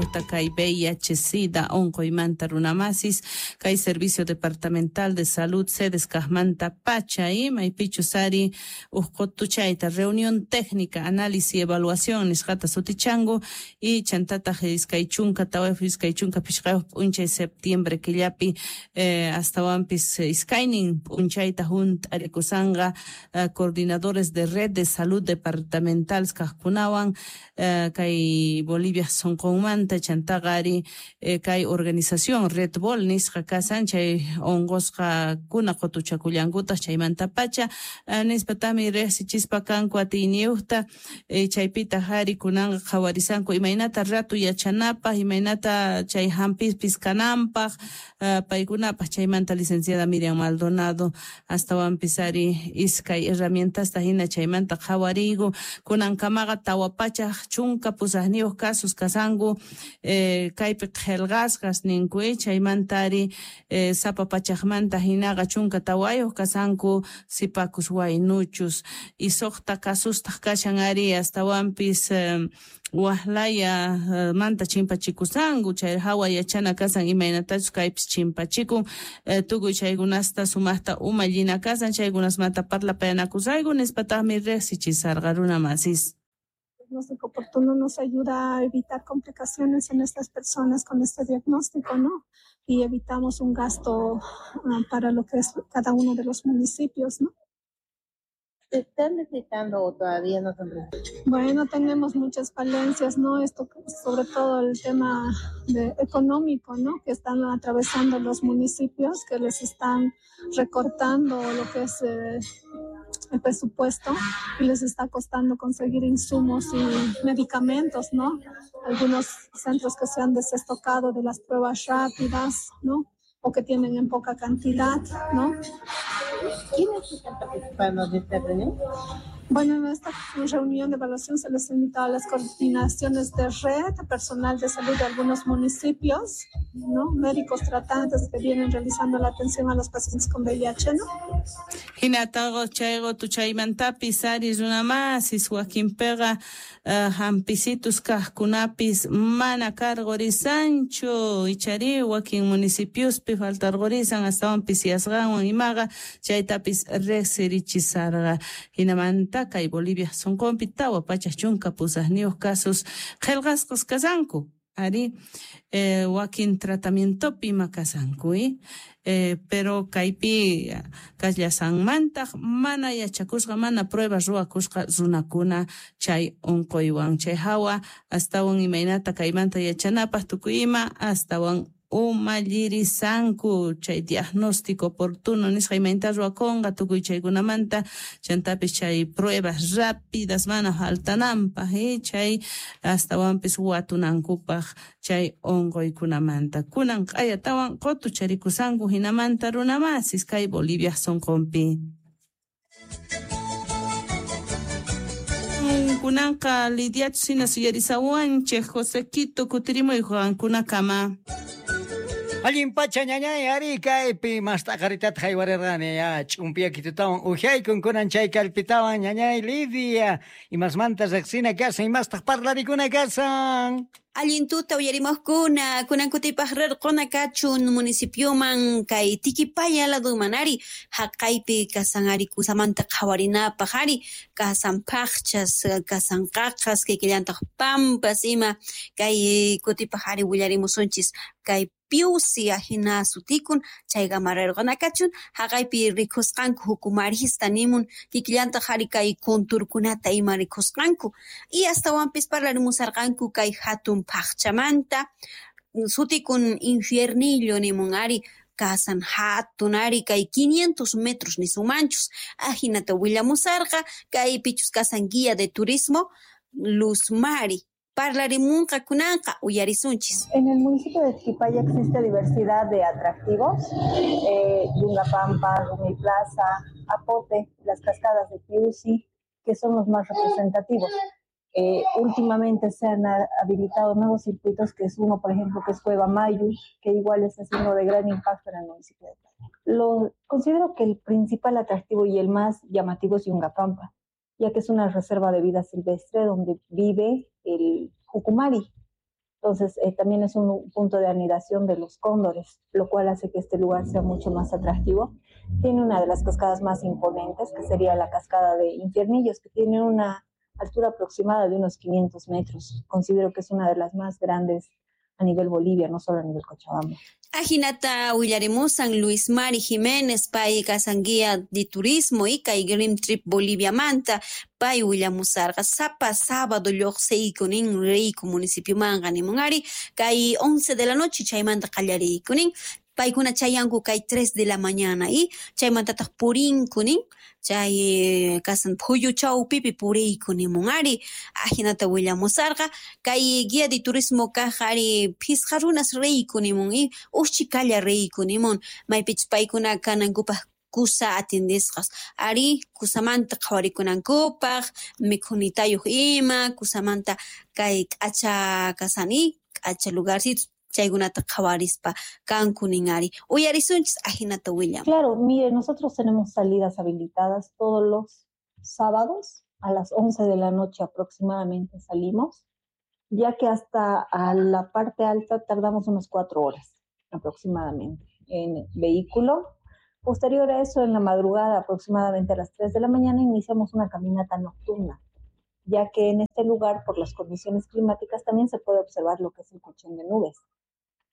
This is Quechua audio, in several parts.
sumaqta kay VIH SIDA unquymanta runamasis kay Servicio Departamental de Salud sedes kaqmanta pacha maypichus ari huk qutuchayta reunión técnica, análisis y evaluación nisqata sutichanku y chantataq 24 25 p'unchay septiembre killapi astawanpis iskaynin p'unchayta hunt'arikusanqa coordinadores de red de salud departamental kaqkunawan kay Bolivia sunqunmanta chantaqa ari kay organización Red Bol nisqa kasan chay unqusqakuna qutuchakullankutaq chaymanta pacha nispatami riqsichispa kanku atiyniyuqta chaypitaq ari kunanqa qhawarisanku imaynata ratu yachanapaq imaynata chay hampispis kananpaq paykunapaq chaymanta licenciada Miriam Maldonado astawanpis ari iskay herramientasta hina chaymanta qhawariyku kunankamaqa 418 casos kasanku kaypi qillqasqas ninku chaymanta ari sapa pachaqmanta hinaqa 14 kasanku sipakus waynuchus y 6 casustaq kashan ari astawanpis wahlaya manta chimpachikusanku chay hawa yachana kasan imaynatachus kaypis chimpachikun tukuy chaykunasta sumaqta umallina kasan chaykunasmanta parlapayanakusayku nispataqmi riqsichisarqa runamasis. Diagnóstico oportuno nos ayuda a evitar complicaciones en estas personas con este diagnóstico, ¿no? Y evitamos un gasto para lo que es cada uno de los municipios, ¿no? ¿Se están necesitando o todavía no son necesarios? Bueno, tenemos muchas falencias, ¿no? Esto, sobre todo el tema económico, ¿no? Que están atravesando los municipios, que les están recortando lo que es el presupuesto y les está costando conseguir insumos y medicamentos, ¿no? Algunos centros que se han desestocado de las pruebas rápidas, ¿no? O que tienen en poca cantidad, ¿no? ¿Quiénes están participando de esta reunión? Bueno, en esta reunión de evaluación se les invitó a las coordinaciones de red, personal de salud de algunos municipios, ¿no? Médicos tratantes que vienen realizando la atención a los pacientes con VIH, ¿no? Hinataqa chay qutuchaymantapis ari runamasis wakinpiqa hampisitus kaqkunapis mana karqurisanchu ichari wakin municipiospi faltarqurisan astawanpis yasqanwan imaqa chaytapis riqsirichisarqa hinamanta kay Bolivia sunqunpi 418 casos qillqasqas kasanku ari wakin tratamientopi ima kasanku pero kaypi kallasanmantaq mana yachakusqa mana pruebas ruwakusqa runakuna chay unquywan chay hawa astawan imaynata kaymanta yachanapaq tukuy ima astawan umallirisanku chay diagnóstico oportuno nisqa imaynata ruwakunqa tukuy chaykunamanta chantapis chay pruebas rápidas mana faltananpaq chay astawanpis watunankupaq chay unquykunamanta kunan q'ayatawan qutucharikusanku hinamanta runamasis kay Bolivia sunqunpi. Kunanqa Lidiachus hina suyarisawanchik Josequito kutirimuy qankunakama. Allin pacha ñañay ari kaypi mast'aqaritata haywarirqani ya ch'umpiyakitutawan uhyaykum kunan chay kallpitawan ñañay Lidia imasmanta riqsina kasan imastaq parlarikuna kasan. Allin tuta uyarimuqkuna kunan kutipaq rirquna kachun municipioman kay Tiquipaya laduman ari haqaypi kasan ari kusamanta qhawarinapaq ari kasan phaqchas kasan qaqas kiykillantaq pampas ima kay kutipaq ari willarimusunchis kay Piusi ahina sutikun chaykama rirquna kachun haqaypi rikusqanku hukumarista nimun kikillantaq ari kay kunturkunata ima rikusqanku y astawanpis parlarimusarqanku kay hatun phaqchamanta sutikun infiernillo nimun ari kasan hatun ari kay 500 metros nisumanchus ahinata willamusarqa kay pichus kasan guía de turismo Luz Mari. Parlarimunqa kunanqa uyarisunchis. En el municipio de Tiquipaya existe diversidad de atractivos, Yungapampa, Rumi Plaza, Apote, las cascadas de Piusi, que son los más representativos. Últimamente se han habilitado nuevos circuitos, que es uno, por ejemplo, que es Cueva Mayu, que igual está siendo de gran impacto en el municipio de Tiquipaya. Considero que el principal atractivo y el más llamativo es Yungapampa, ya que es una reserva de vida silvestre donde vive el jucumari. Entonces, también es un punto de anidación de los cóndores, lo cual hace que este lugar sea mucho más atractivo. Tiene una de las cascadas más imponentes, que sería la cascada de Infiernillos, que tiene una altura aproximada de unos 500 metros. Considero que es una de las más grandes a nivel Bolivia, no solo a nivel Cochabamba. Ajinata willarimusan Luis Mari Jiménez, pay kasan guía de turismo y kay Green Trip Bolivia manta, pay willamusarqa sapa sábado lluqsiykunin riyku municipiomanqa nimun ari, kay 11 de la noche chaymanta qallariykunin, paykuna chayanku kay 3 de la mañana y chaymantataq purinkunin, chay kasan phuyu chawpipi puriyku nimun ari, ajinata willamusarqa, kay guía de turismo kaq ari phisqa runas riyku nimun y uschikalla riyku nimun, maypichus paykuna kanankupaq kusa atendisqas ari kusamanta qhawarikunankupaq mikhunitayuq ima kusamanta kay k'acha kasani k'acha lugarcito chaykunata qhawarispa kanku nin ari uyarisunchis ajinata willam. Claro, mire, nosotros tenemos salidas habilitadas todos los sábados a las 11 de la noche aproximadamente salimos, ya que hasta a la parte alta tardamos unas 4 horas aproximadamente en vehículo. Posterior a eso, en la madrugada, aproximadamente a las 3 de la mañana, iniciamos una caminata nocturna, ya que en este lugar, por las condiciones climáticas, también se puede observar lo que es el colchón de nubes,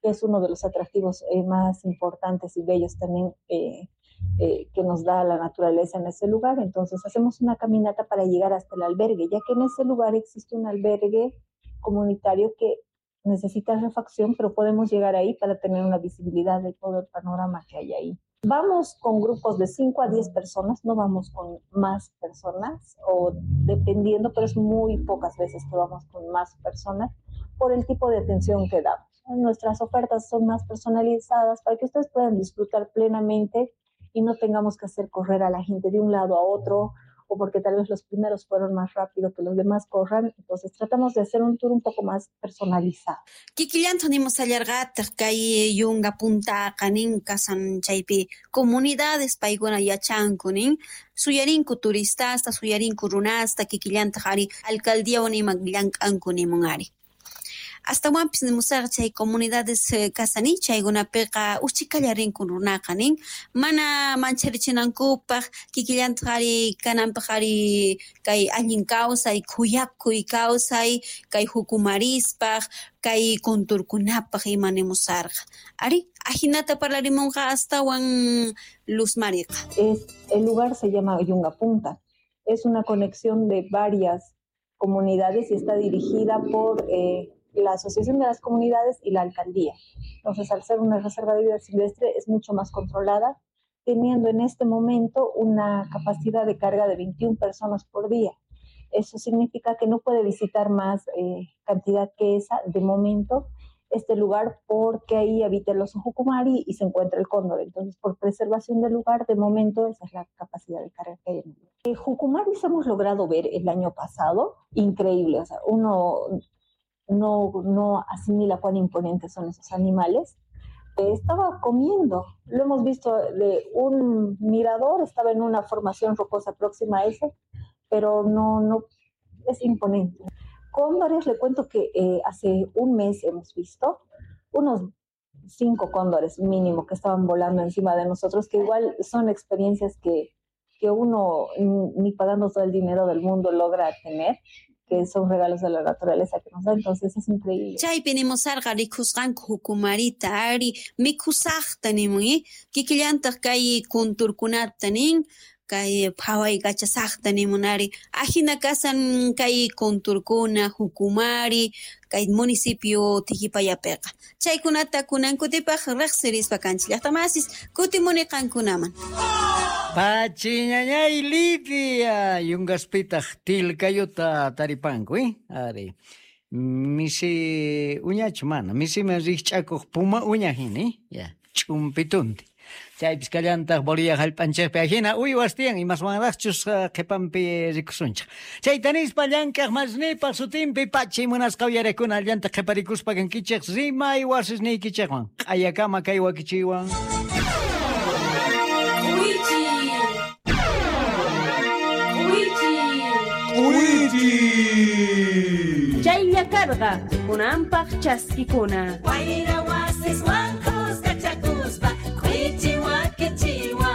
que es uno de los atractivos más importantes y bellos también que nos da la naturaleza en ese lugar. Entonces, hacemos una caminata para llegar hasta el albergue, ya que en ese lugar existe un albergue comunitario que necesita refacción, pero podemos llegar ahí para tener una visibilidad de todo el panorama que hay ahí. Vamos con grupos de 5 a 10 personas, no vamos con más personas, o dependiendo, pero es muy pocas veces que vamos con más personas por el tipo de atención que damos. Nuestras ofertas son más personalizadas para que ustedes puedan disfrutar plenamente y no tengamos que hacer correr a la gente de un lado a otro, o porque tal vez los primeros fueron más rápido que los demás corran. Entonces tratamos de hacer un tour un poco más personalizado. Kikillanta nimusallarqataq kay yunka puntaqa nin kasan chaypi comunidades paykuna yachanku nin suyarinku turistasta, suyarinku runasta, kikillantaq ari alcaldíawan ima llank'anku nimun ari. Astawanpis nimusarqa chay comunidades kasani chaykunapiqa uchikalla rinku runaqa nin mana mancharichinankupak kikillantaq ari kananpaq ari kay allin kawsay khuyakuy kawsay kay hukumarispaq kay kunturkunapaq ima nimusarqa ari ajinata parlarimunqa astawan Luz Mariqa. El lugar se llama Yunga Punta, es una conexión de varias comunidades y está dirigida por la Asociación de las Comunidades y la Alcaldía. Entonces, al ser una reserva de vida silvestre, es mucho más controlada, teniendo en este momento una capacidad de carga de 21 personas por día. Eso significa que no puede visitar más cantidad que esa de momento este lugar, porque ahí habita el oso jucumari y se encuentra el cóndor. Entonces, por preservación del lugar, de momento, esa es la capacidad de carga que hay en el lugar. Jucumaris hemos logrado ver el año pasado, increíble, o sea, uno no asimila cuán imponentes son esos animales. Estaba comiendo, lo hemos visto de un mirador, estaba en una formación rocosa próxima a ese, pero no es imponente. Cóndores, le cuento que hace un mes hemos visto unos 5 cóndores mínimo que estaban volando encima de nosotros, que igual son experiencias que uno ni pagando todo el dinero del mundo logra tener, que son regalos de la naturaleza que nos da, entonces es increíble. Chaypi nimusarqa rikusqanku jukumarita ari mikhusaqta nimun kikillantaq kay kunturkunata nin kay phaway kachasaqta nimun ari ajina kasan kay kunturkuna jukumari kay municipio Tiquipayapiqa chaykunata kunankutipaq riqsirispa kanchik llaqtamasis kutimuni qankunaman. Pachiñañay Lidia, yungaspitaq tilkayuta taripanku, Ari, misi uñachu mana, misiman rikch'akuq puma uña hina, ya, ch'umpitunti. Chaypis kallantaq Bolivia hallp'anchikpi ajina uywas tiyan imaswanraqchus qhipanpi rikusunchik. Chayta nispa llank'aq masnipaq sutinpi pachi munasqa uyarakuna allanta qhiparikuspa kankichik rimay wasisniykichikwan q'ayakama kay wakichiywan. Chaylla karqa, kunanpaq chaskikuna. Wayra wasiswan kuskachakuspa, k'uichiwa kichiwa.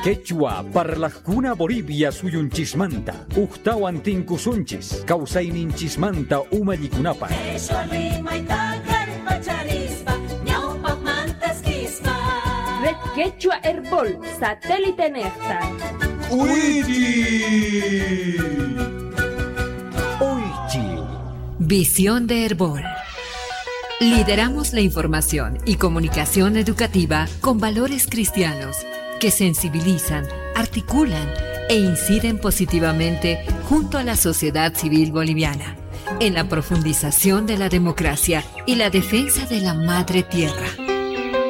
Quechua parlaqkuna Bolivia suyunchismanta, uktawan tinkusunchis, kawsayninchismanta umallikunapaq. Qheshwa rimayta kallpacharispa, ñawpaqmantas kispa. Red Quechua Herbol, satélite nefta. ¡Uichi! Uichi. Visión de Herbol. Lideramos la información y comunicación educativa con valores cristianos que sensibilizan, articulan e inciden positivamente junto a la sociedad civil boliviana en la profundización de la democracia y la defensa de la madre tierra.